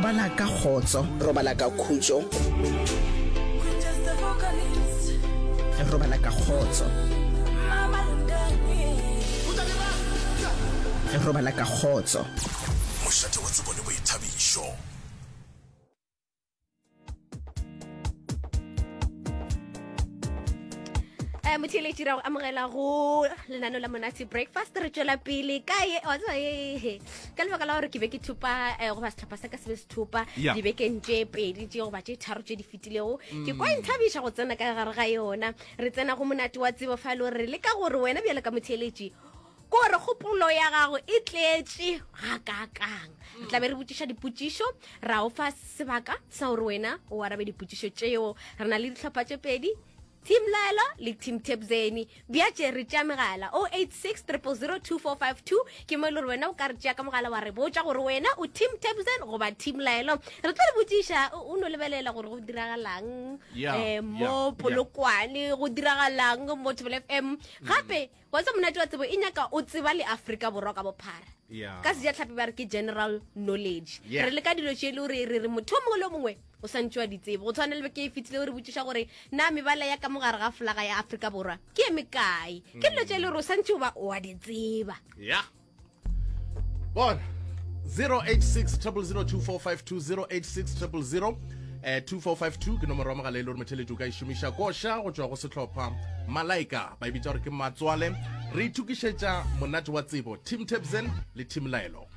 Robala ka kgotso. Robala ka khutšo. Robala ka kgotso. Robala ka kgotso. Mošate wa tsebo le boithabišo. Eh, motheeletši ra go amogela go lenano la monate breakfast re tšwela pele ka ye wa tseba ye ka lebaka la gore ke be ke thupa eh, goba setlhopha sa ka se be se thupa Yeah. dibekeng tše pedi tše goba tše tharo tše di fetilego ke kwa e nthabiša go tsena ka gare ga yona re tsena go monate wa tsebo fa e le gore re leka gore wena bjale ka motheeletši Ko re kgopolo ya gago e tletše gakaakang. Re tla be re botšiša dipotšišo, ra o fa sebaka sa gore wena o arabe dipotšišo tšeo. Re na le dihlopha tše pedi, Team Laelo le Team Tebzeni. Bjatše re tšea megala 086 000 2452 ke mo e le gore wena o ka re tšea ka mogala wa re botša gore wena o Team Tebzen goba Team Laelo. Re tlo le botšiša o o no lebelela gore go diragalang Yeah, eh, yeah, mo yeah. Polokwane, go diragalang mo Thobela FM. Gape Wa tseba monate wa tsebo e nyaka o tseba le Afrika Borwa ka bophara. Yeah. Ka sejatlhapi ba re ke general knowledge. Yeah. Re leka dilo tše e le gore re re motho o mongwe le o mongwe o santše wa di tseba. Go tshwana le beke e fetile o re botšiša gore na mebala ya ka mogare ga folaga ya Afrika Borwa ke e mekae. Ke dilo tše e le gore o santše o ba o a di tseba. Yeah. Bona 086 0002452 086 000 eh 2452 ke nomoro ya mogala e le gore motheletši o ka e šomiša koša go tšwa go sehlopha Malaika ba e bitša gore ke matswale re itokišetša monate wa tsebo Team Tebzen le Team Laelo.